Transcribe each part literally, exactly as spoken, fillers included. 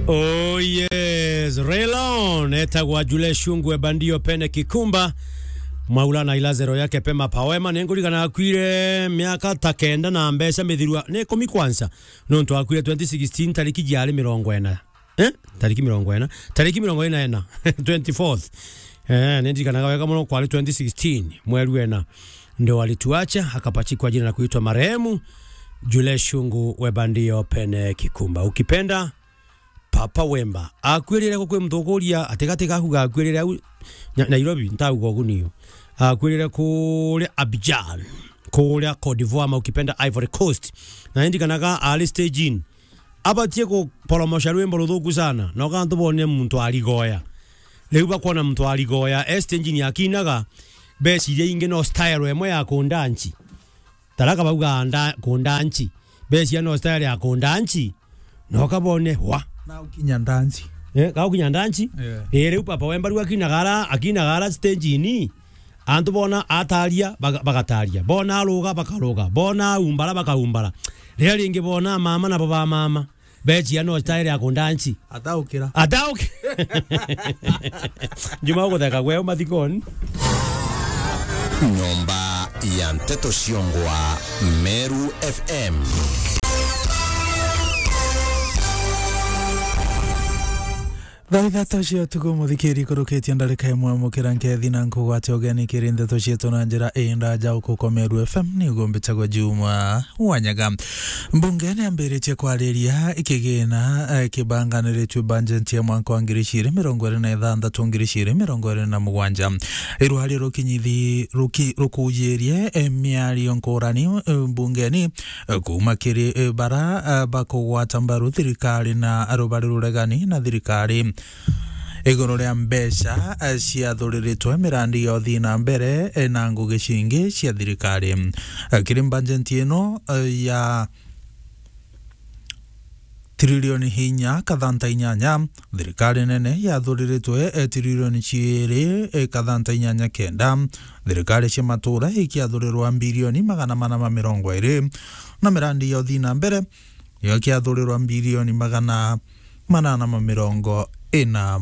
Oh yes, Raylon etagwa Jule Shungu Ebandio Pene Kikumba. Maula na ilazero yake pema pawema. Ningurigana akwire miaka ta kenda na mbeca mithirua ni ikumi kwansa. Nontu akwire twenty sixteen tariki jiari mirongo ina. Eh? Tariki mirongo ina. Tariki mirongo ina ina. Twenty-fourth. Eh, nindirikanaga wega muno kwari twenty sixteen, mweri wena. Ndio walituacha, akapachikwa jina na kuitwa marehemu Jule Shungu Webandio Pene Kikumba. Ukipenda, Papa Wemba. Akuirire ku kwi muthukuria, atigati gaku gakuirire au Nya-, Nairobi, ntauga ugu niyo. Akuirire kuria Abidjan, kuria Cote d'Ivoire, ama ukipenda Ivory Coast. Na nindirikanaga ari stage-ini. Abatie kuporomosha rwimbo ruthuku sana, na ukantu bonire muntu arigoya. Riu bakwona muntu arigoya, e stage-ini akinaga, beciria ingi no style emwe ya kundanchi. Taraka bauga nda-, kundanchi. Beciria no style ya kundanchi, na ukabone, wa. Na ukinya ndanchi. Eh, ka ukinya ndanchi? Yeah. Eh, riu Papa Wemba riu akinaga ara, akinaga ara stage-ini, antu bona ataria, baga-, bagataria. Bona aruga, bakaruga. Bona aumbara, bakaumbara. Riria ringi bona mama nabo ba mama. Bechia no style ya kundanchi. Ataukira. Atauki-, Juma ugutheka gwe umathikoni. Nyomba ya Nteto Ciongwa, Meru F M. Thaa ithatu cia utuku, muthikiri, kurukitie ndarika imwe, mukira nkethi na nkugwate ugeni kiri ndeto cietu na njira indaja ukuko Meru F M, ni ugumbitagwa Juma Wanyaga. Mbunge ni ambiritie kwariria kigina, eh, kibanganiritue bajeti ya mwaka wa ngiri igiri mirongo iri na ithanthatu, ngiri igiri mirongo iri na mugwanja. Irwari rukinyithi-, ruki-, rukujirie, eh, miario nkurani, eh, mbungeni, eh, kuuma kiri, eh, bara, eh, bakugwata mbaru thirikari na rubari ruregani na thirikari. Iguru ria mbeca, eh, ciathuriritwe mirandi ya uthii na mbere, eh, na ngugi cingi cia thirikari. Eh, kiri bajeti ino, eh, ya trilioni inya kathanta inyanya, thirikari nene yathuriritwe, eh, trilioni ciiri, eh, kathanta inyanya kenda. Thirikari cia matura ikiathurirwa bilioni magana mana ma mirongo iri, na mirandi ya uthii na mbere niyo ikiathurirwa bilioni magana manana ma mirongo ina.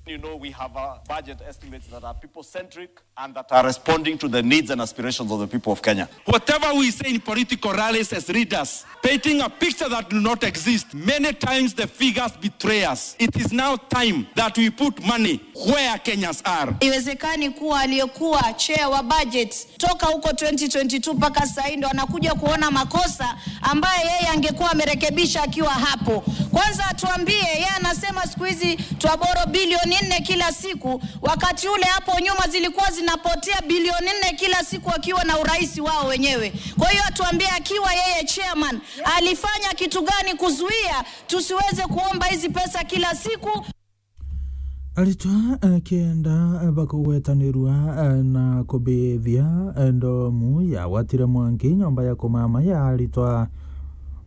You know, we have, uh, budget estimates that are people-centric and that are responding to the needs and aspirations of the people of Kenya. Whatever we say in political rallies as leaders, painting a picture that do not exist, many times the figures betray us. It is now time that we put money where Kenyans are. Iwezekani kuwa aliyekuwa chair wa budget toka huko twenty twenty-two mpaka sasa hii ndo anakuja kuona makosa ambaye yeye angekuwa amerekebisha akiwa hapo. Kwanza atuambie, yeye anasema siku hizi twaboro bilioni nne kila siku, wakati ule hapo nyuma zilikuwa zinapotea bilioni nne kila siku akiwa na urais wao wenyewe. Kwa hiyo atuambie, akiwa yeye chairman, alifanya kitu gani kuzuia tusiweze kuomba hizi pesa kila siku? Aritwa, eh, kenda, eh, bakugwetanirua, eh, na kubithia, eh, ndomu yagwatire mwanki nyomba ya kumama ya aritwa,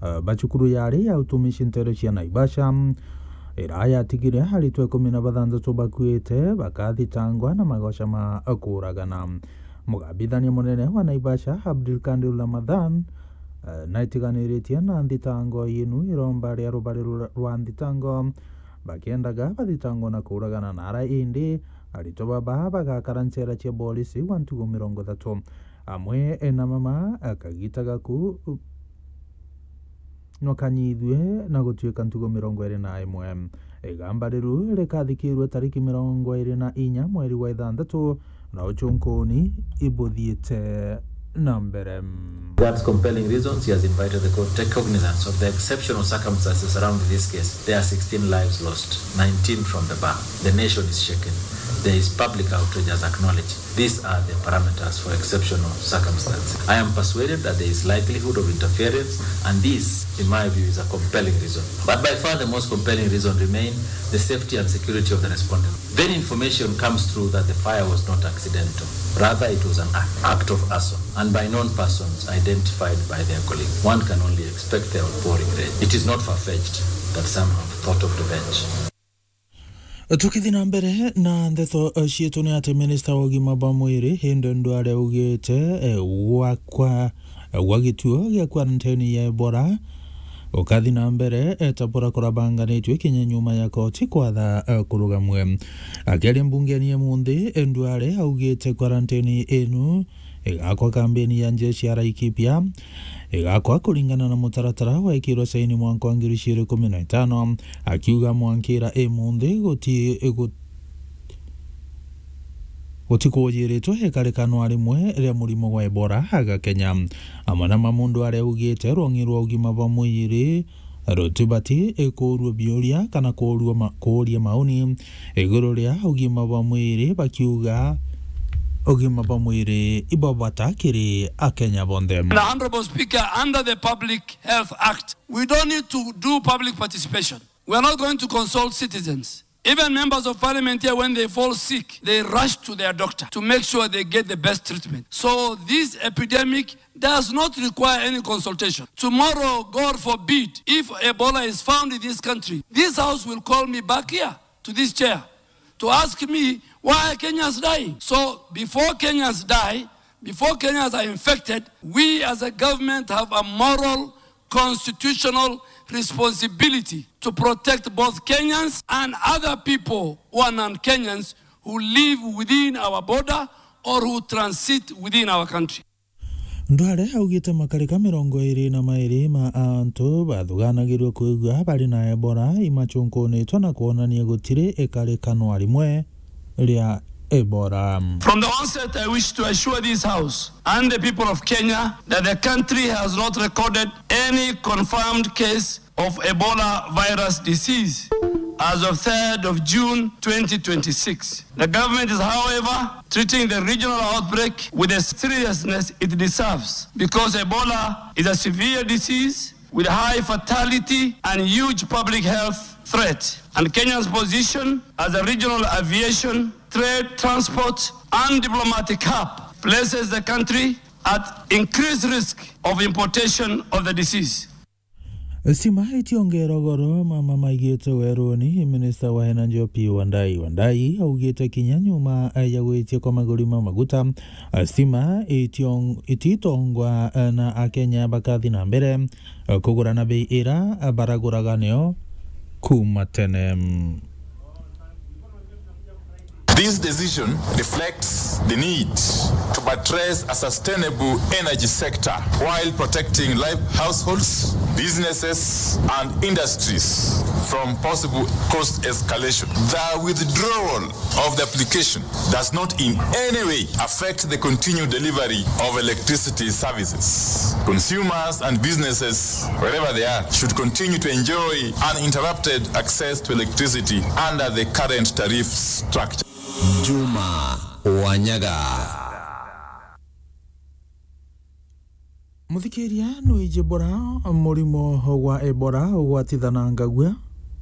eh, ba cukuru yari ya utumishi ntere cia Naivasha. Ira yatigire aritwa ikumi na bathanthatu bakuite, bakathitangwa na magoca ma kuragana. Mugambithania munene wa Naivasha, Abdulkadir Ramadhan, eh, naitiganiritie na nthitango yinu iromba ria rubari rwa, rwa nthitango, bakiendaga bathitangwa na kuragana na ara indi aritwa baba bagakara nchera cia borisi gwa ntugu mirongo ithatu. Amwe na mama akagita gaku nwakanyithue na gutuika ntugo mirongo iri na imwe. Igamba riru rikathikirwe tariki mirongo iri na inya mweri wa ithanthatu, na uchunkuni ibuthiite na mbere. That's compelling reasons. He has invited the court to take cognizance of the exceptional circumstances surrounding this case. There are sixteen lives lost, nineteen from the bar. The nation is shaken. There is public outrage as acknowledged. These are the parameters for exceptional circumstances. I am persuaded that there is likelihood of interference, and this, in my view, is a compelling reason. But by far the most compelling reason remain the safety and security of the respondent. Then information comes through that the fire was not accidental. Rather, it was an act, act of arson, and by known persons identified by their colleague. One can only expect their outpouring rage. It is not far-fetched that some have thought of revenge. Tukithi na mbere na ndeto, eh, cietu, ni ati minista wa ugima bwa mwiri Aden Duale augite, eh, gwakwa, eh, gwa gituo gia quarantine ya Ebola Ukathi na mbere, eta burakura banganitue kinya nyuma ya koti kwatha, eh, kurugamwe. Akiaria mbungeni ya munthi, Duale augite karantini inu igakwa kambeni ya njeshi ya Laikipia, igakwa kuringana na mutaratara waikirwe saini mwaka wa ngiri igiri ikumi na itano, akiuga mwankira imunthi guti-, gu-, gutikuujiritwe ikarikano rimwe ria murimo wa Ebola aga Kenya. Amwe na mamundu aria augite rwong'i rwa ugima bwa mwiri rutibati ikuurua biuria kana kuurua ma-, kuuria mauni iguru ria ugima bwa mwiri, bakiuga ugima bwa mwiri ibwa bata kiri Akenya bonthe. The Honorable Speaker, under the Public Health Act, we don't need to do public participation. We are not going to consult citizens. Even members of parliament here, when they fall sick, they rush to their doctor to make sure they get the best treatment. So this epidemic does not require any consultation. Tomorrow, God forbid, if Ebola is found in this country, this house will call me back here to this chair to ask me why Kenyans die. So before Kenyans die, before Kenyans are infected, we as a government have a moral, constitutional responsibility to protect both Kenyans and other people who are non-Kenyans who live within our border or who transit within our country. Duale augite makarika mirongo iri na mairi ma antu bathuganagirwe kwigua bari na Ebola imachunkunitwe na kwonania gutiri ikarikano rimwe ria Ebola. From the onset, I wish to assure this House and the people of Kenya that the country has not recorded any confirmed case of Ebola virus disease as of third of June twenty twenty-six. The government is, however, treating the regional outbreak with the seriousness it deserves because Ebola is a severe disease with high fatality and huge public health threat. And Kenya's position as a regional aviation, trade, transport, and diplomatic hub places the country at increased risk of importation of the disease. Stima itiongerwa goro, mama maigite weruni, Minister wa Energy Opiyo Wandayi. Wandayi augite kinya nyuma ya gwitia kwa maguri ma maguta, stima ition-, ititongwa na Akenya bakathi na mbere kugura na bei ira baraguraga nio kuma tene. This decision reflects the need to buttress a sustainable energy sector while protecting life, households, businesses, and industries from possible cost escalation. The withdrawal of the application does not in any way affect the continued delivery of electricity services. Consumers and businesses, wherever they are, should continue to enjoy uninterrupted access to electricity under the current tariff structure. Juma Wanyaga. Muthikiria, nwiji bura murimo gwa Ebola ugwatithanangagua,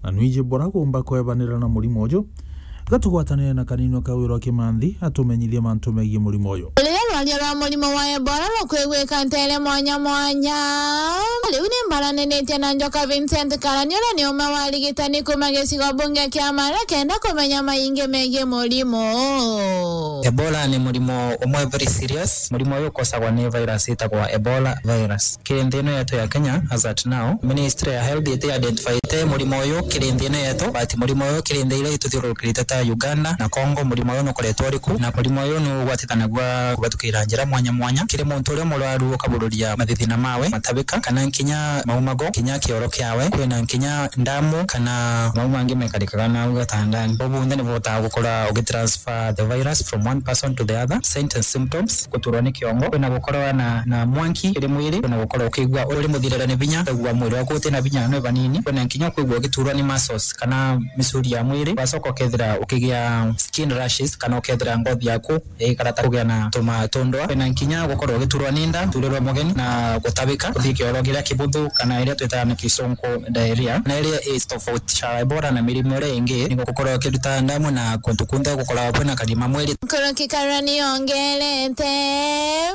na nwiji bura gumba kwebanira na murimo uju? Gatugwatanire na Kaninwa Kawirwa Kimanthi atumenyithie mantu megii murimo uju. Riria rwaria rwa murimo wa Ebola rukwigwika nteere mwanya mwanya, riu ni mbaraniritie na Njoka Vincent Karani, uria ni umwe wa arigitani kuuma gicigo bunge kia Maara, kenda kumenya maingi megii murimo. Ebola ni murimo umwe very serious. Murimo uyu ukosagwa ni virus itagwa Ebola virus. Kiri nthi ino yetu ya Kenya, as at now, Ministry ya Health iti identifyite murimo uyu kiri nthi ino yetu, but murimo uyu kiri nthi iria ituthiururukirite ta Uganda na Congo, murimo uyu nukoretwo uri ku, na murimo uyu nugwatitanagua kubatukira njira mwanya mwanya. Kiri muntu uria murwaru ukabururia mathithina mawe, matabika, kana nkinya maumago, kinya kioro kiawe, kwina nkinya ndamu, kana mau mangi mekarikaga nau gatandani. Bau bonthe nibuhotaga gukora ugitransfer the virus from one person to the other. Signs and symptoms: guturwa ni kiongo, kwina gukorwa na, na mwanki kiri mwiri, kwina gukorwa ukigua uri muthirire ni binya, kwigua mwiri waku utina binya, ni banini, kwina nkinya kwigua ugiturwa ni muscles kana misuri ya mwiri, wacoka ukethira ukigia skin rashes kana ukethira ngothi yaku igikara ta kugia na tuma tundwa, kwina nkinya gukorwa ugiturwa ni nda, turirwa mugeni na gutabika, kuthii kioro kiria kibuthu kana iria twitaga na Kisungu diarrhea, na iria is tofauti cha Ebola na mirimo iria ingi ni gukorwa ukiruta ndamu na kuntu kunthe gukoragwa kwina karima mwiri. Nkuruki Karani yongerete.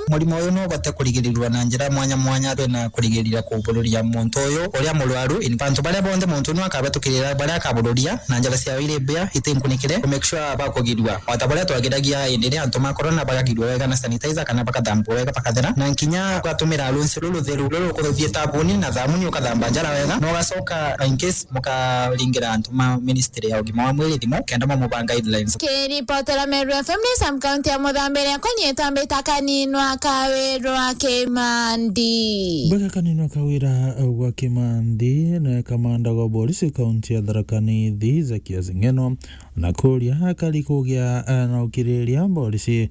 Murimo uyu no ubote kurigirirwa na njira mwanya mwanya. Twina kurigiririra kubururia muntu uyu uria murwaru. In bantu baria bonthe muntu uyu akabatukirira, baria akabururia na njira ciawe iri mbia, itinkunikire, ku make sure bakugirua. O ta baria twagiragia hindi iria antu ma corona bagagirua wega na sanitizer. sanitizer kana bakathambwa wega bakathera, na nkinya ugatumira runsi ruru rutheru ruru rukuthithie thabuni na thamuni ukathamba njara wega, na ugacoka in case mukaringira antu ma ministry ya ugima wa mwiri thimu kenda mamubaa guidelines. Kiripotera Meru F M ni Sam County ya Muthambiria, kwa nyie twambita Kaninwa Kawirwa Kimandi. Mbega Kaninwa Kawira gwa Kimandi, na kamanda gwa borisi kaunti ya Tharaka Nithi Zakias Ng'eno na kuria akari kugia, eh, na ukiriria borisi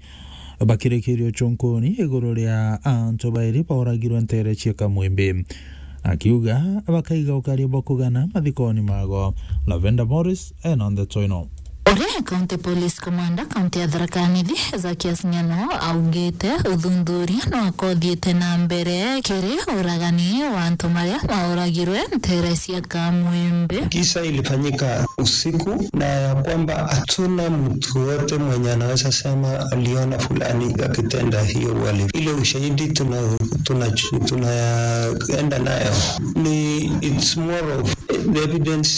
bakirikiria uchunkuni iguru ria antu bairi bauragirwe ntere cia Kamwimbi, akiuga bakaiga ukari bwa kugana mathikoni mago. Lavender Morris ena ndeto ino. Uria County Police Commander kaunti ya Tharaka Nithi Zakias Ng'eno augite uthuthuria no akothiite na mbere kiri uragani wa antu maria mauragirwe ntere cia Kamwimbi. Kisa ilifanyika usiku na ya kwamba hatuna mtu wote mwenye anaweza sema aliona fulani akitenda hiyo uhalifu. Ile ushahidi tuna, tuna, tunaenda nayo ni, it's more of the evidence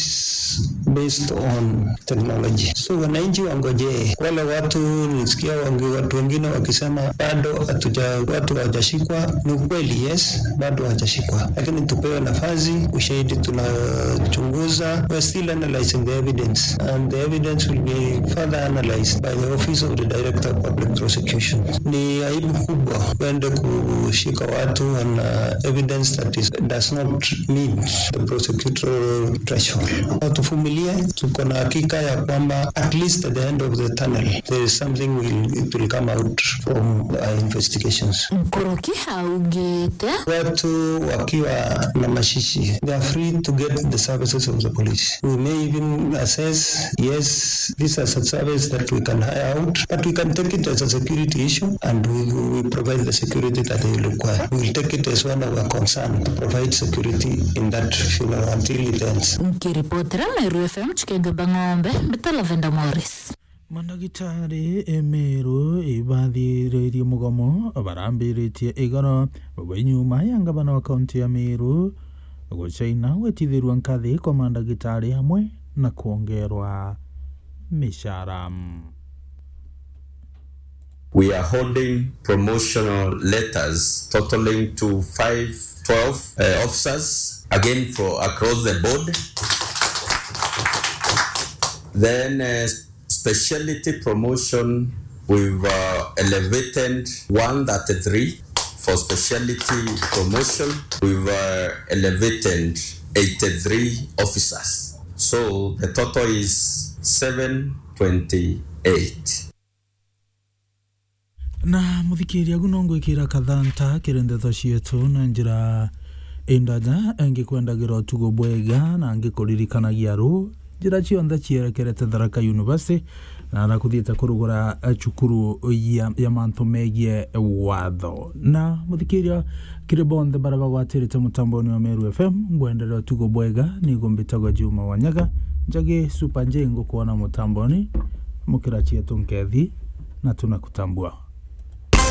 based on technology. So wananchi wangojee, wale watu nisikia wangi-, watu wengine wakisema bado hatuja-, watu hawajashikwa. Ni ukweli, yes, bado hawajashikwa, lakini tupewe nafasi, ushahidi tunachunguza. We're still analyzing the evidence and the evidence will be further analyzed by the Office of the Director of Public Prosecution. Ni aibu kubwa kwenda kushika watu on, uh, evidence that is, does not meet the prosecutorial threshold. Tuvumilie, tuko na hakika ya kwamba at least at the end of the tunnel there is something will, it will come out from our investigations. Nkuruki augite. Watu wakiwa na mashishi, they are free to get the services of the police. We may even assess, yes, this is a service that we can hire out, but we can take it as a security issue and we, we provide the security that they require. We will take it as one of our concern to provide security in that funeral until it ends. Nkiripotera Meru F M Chikenge Bang'ombe, mbita Lavender Morris. Mandagitari e Meru ibathiririe mugomo barambiritie igoro baba nyuma ya ngavana wa kaunti ya Meru gucaina gwitithirua nkathi kwa mandagitari amwe na kwongerwa mishara. We are holding promotional letters totaling to five twelve, uh, officers, again for across the board. Then, uh, speciality promotion, we've, uh, elevated one thirty-three for speciality promotion. We've, uh, elevated eighty-three officers. So the total is seven twenty-eight. Na muthikiria, agu no ngwikira kathanta kiri ndeto cietu na njira indaja, ngikwendagira utugo bwega na ngikuririkanagia ru njira cionthe cierekerete Tharaka University, na ara kuthiite kurugura, eh, cukuru ya, ya mantu megie watho. Na muthikiria, kiri bonthe bara bagwatirite mutamboni wa Meru F M, ngwenderea utugo bwega. Nigo mbitagwa Juma Wanyaga, Njagi Super J, ngukwona mutamboni, mukira cietu nkethi, na tunakutambua.